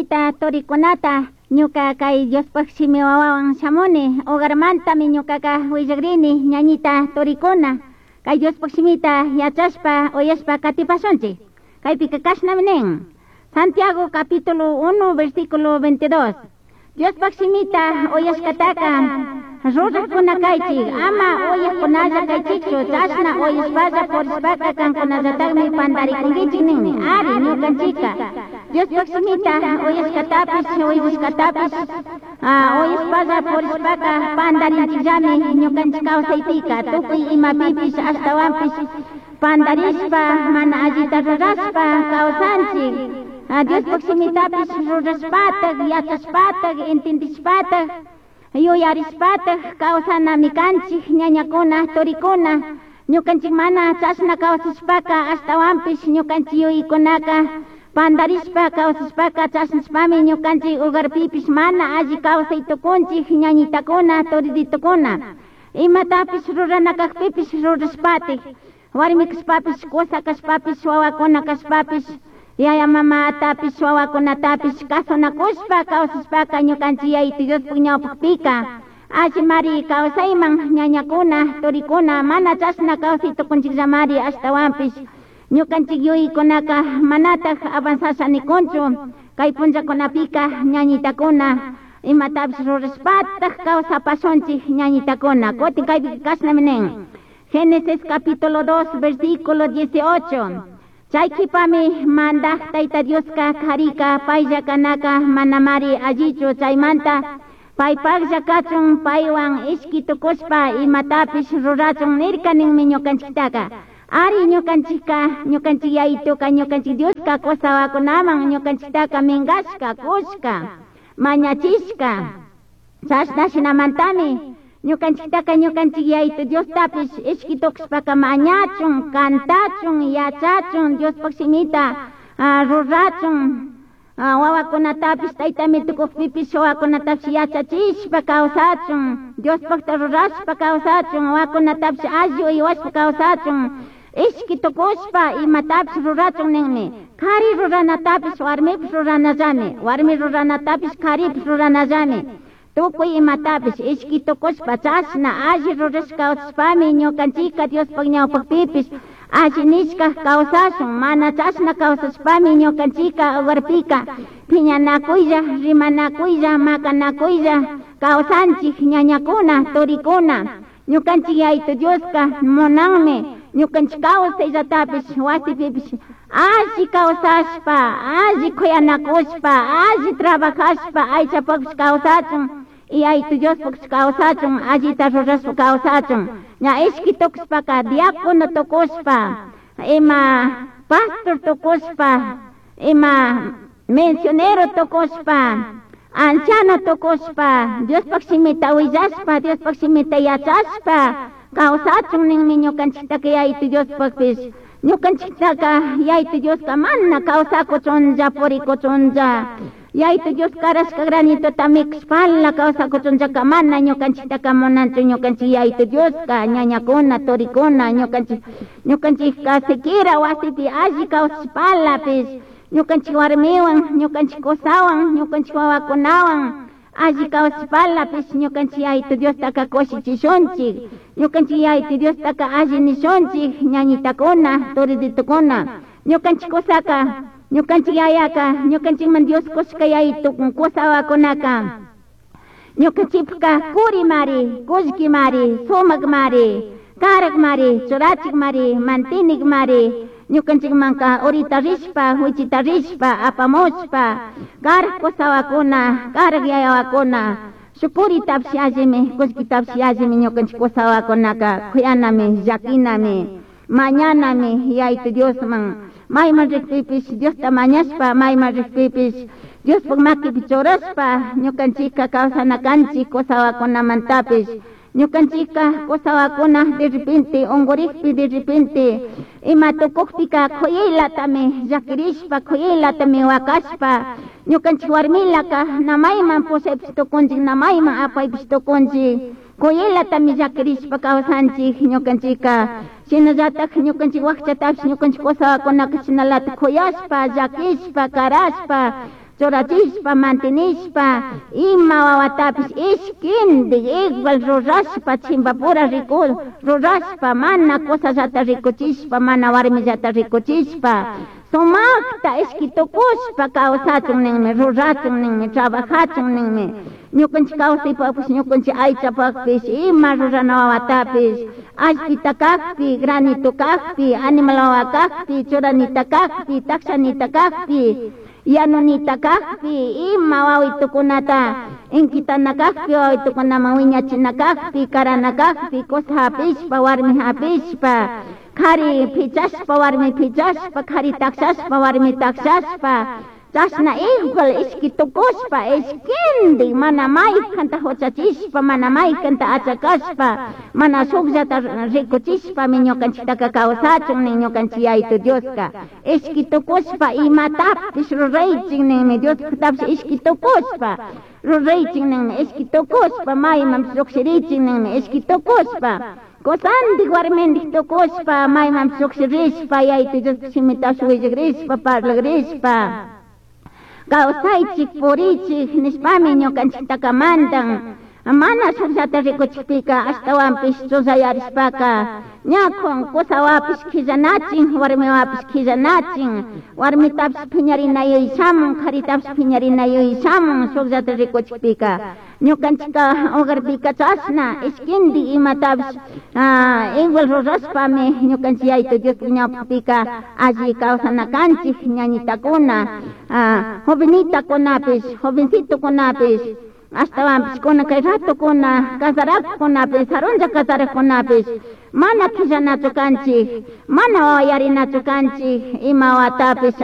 Ñañita turikunata ñuka kay Diospaj shimi wawawan shamuni hogarmantami ñukaka willakrini ñañita turikuna kay Diospaj shimita yachashpa uyashpa katipashunchik kaypika kashnami nin Santiago capítulo 1 versículo 22 Diospaj shimita uyashkataka rurajkuna kaychik ama uyajkunalla kaychikchu chashna uyashpalla purishpaka kankunallatakmi pantarikunkichik ninmi ari ñukanchika Diospaj shimita uyashkatapish uyashkatapish uyashpalla purishpaka pantarinchikllami ñukanchik kawsaypika tukuy imapipish ashtawanpish pantarishpa mana allita rurashpa kawsanchik Diospaj shimitapish rurashpatak yachashpatak entendishpatak yuyarishpatak kawsanami kanchik ñañakuna turikuna ñukanchik mana chashna kawsashpaka ashtawanpish ñukanchik yuyaykunaka pantarishpa kawsashpaka chashnashpami ñukanchik hogarpipish mana alli kawsay tukunchik ñañitakuna turiditukuna imatapish rurana kajpipish rurashpatik warmi kashpapish kusa kashpapish wawakuna kashpapish yaya mamatapish wawakunatapish kasunakushpa kawsashpaka ñukanchik Yayitu Diospuk ñawpakpika allimari kawsayman ñañakuna turikuna mana chashna kawsay tukunchikllamari ashtawanpish ñukanchik yuyaykunaka manatak avanzasha nikunchu kay punllakunapika ñañitakuna imatapish rurashpatak kawsapashunchik ñañitakuna kutin kaypika kashnami nin Génesis capítulo 2 versículo 18 Chay qhipami mandaj Tayta Dioska karika paylla kanaka manamari allichu chaymanta paypaqlla kachun paywan ishki tukushpa imatapish rurachun nirka ninmi ñukanchiktaka ari ñukanchikka ñukanchik Yayituka ñukanchik Dioska kusawakunaman ñukanchiktaka minkashka kushka mañachishka chashna shinamantami ñukanchiktaka ñukanchik Yayitu Diostapish ishki tukushpaka mañachun kantachun yachachun Diospaj shimita rurachun wawakunatapish taytami tukukpipish wawakunatapish yachachishpa kawsachun Diospajta rurashpa kawsachun wawakunatapish alli uywashpa kawsachun ishki tukushpa imatapish rurachun ninmi kari ruranatapish warmipish ruranallami warmi ruranatapish karipish ruranallami tukuy imatapish ishki tukushpa chashna alli rurashka kawsashpami ñukanchika Diospaj ñawpakpipish alli nishka kawsashun mana chashna kawsashpami ñukanchika hogarpika phiñanakuylla rimanakuylla makanakuylla kawsanchik ñañakuna turikuna ñukanchik Yayitu Dioska munanmi ñukanchik kawsayllatapish wasipipish alli kawsashpa alli kuyanakushpa alli trabajashpa aychapakpish kawsachun Yayitu Diospakpish kawsachun allita rurashpa kawsachun ña ishki tukushpaka diácono tukushpa ima pastor tukushpa ima misionero tukushpa anciano tukushpa Diospaj shimita willashpa Diospaj shimita yachashpa kawsachun ninmi ñukanchiktaka Yayitu Diospakpish ñukanchiktaka Yayitu Dioska mana kawsakuchunlla purikuchunlla Yayitu Dios karashka granitota mikushpala kawsakuchunllaka mana ñukanchiktaka munanchu ñukanchik Yayitu Dioska ñañakuna turikuna ñukanchik ñukanchikka siquiera wasipi alli kawsashpalapish ñukanchik warmiwan ñukanchik kusawan ñukanchik wawakunawan alli kawsashpalapish ñukanchik Yayitu Diostaka kushichishunchik ñukanchik Yayitu Diostaka alli nishunchik ñañitakuna turiditukuna ñukanchik kusaka ñukanchik yayaka ñukanchikman Dios kushka yayitu kusawakunaka ñukanchikpaka kurimari kullkimari sumakmari karakmari churachikmari mantinikmari ñukanchikmanka urita rishpa wichita rishpa apamushpa karak kusawakuna karak yayawakuna shukuritapish allimi kullkitapish allimi ñukanchik kusawakunaka kuyanami llakinami mañanami Yayitu Diosman mayman rikpipish Diosta mañashpa mayman rikpipish Diospaj makipi churashpa ñukanchikka kawsana kanchik kusawakunamantapish ñukanchikka kusawakuna de repente unkurikpi de repente ima tukukpika kuyaylatami llakirishpa kuyaylatami wakashpa ñukanchik warmilaka namayman pushaypish tukunchik namayman apaypish tukunchik kuyaylatami llakirishpa kawsanchik ñukanchikka shinallatak ñukanchik wakchatapish ñukanchik kusawakunaka shinalatak kuyashpa llakishpa karashpa. Churachishpa, mantenishpa, ima wawatapish ishkindik igual rurashpa, chimbapura riku rurashpa, mana cosallata rikuchishpa, mana warmillata rikuchishpa, sumakta ishki tukushpa kawsachun ninmi, rurachun ninmi, trabajachun ninmi. Ñukanchik kawsaypakpish, ñukanchik aychapakpish, ima rurana wawatapish, allpita kakpi, granito kakpi, animal wawa kakpi, churanita kakpi, takshanita kakpi, yanunita kakpi, ima wawitukunata inkitana kakpi, wawitukunaman wiñachina kakpi, karana kakpi, kusa hapishpa, warmi hapishpa, kari pichashpa, warmi pichashpa, kari takshashpa, warmi takshashpa, chashna igual ishki tukushpa, ishkindik mana maykanta huchachishpa, mana maykanta achakashpa, mana shukllata rikuchishpami ñukanchiktaka kawsachun nin ñukanchik Yayitu Dioska. Ishki tukushpa imatapish ruraychik ninmi, Diospuktapish ishki tukushpa ruraychik ninmi, ishki tukushpa maymanpish llukshirichik ninmi, ishki tukushpa kusandik warmindik tukushpa maymanpish llukshirishpa Yayitu Diospuk shimitapish willakrishpa parlakrishpa kawsaychik purichik nishpami ñukanchiktaka mandan. Mana shukllata rikuchikpika ashtawanpish chullayarishpaka ña kusawapish killanachin, warmiwapish killanachin, warmitapish piñarinayuy shamun, karitapish piñarinayuy shamun shukllata rikuchikpika. Ñukanchika hogarpika chashna ishkindi imatapish igual rurashpami ñukanchik Yayitu Diospuk ñawpakpika alli kawsana kanchik ñañitakuna, jovenitakunapish, jovencitokunapish, ashtawanpish kuna kay ratukuna casarakunapish, sarunlla casarakunapish, mana killanachu kanchik, mana wawayarinachu kanchik, ima watapish.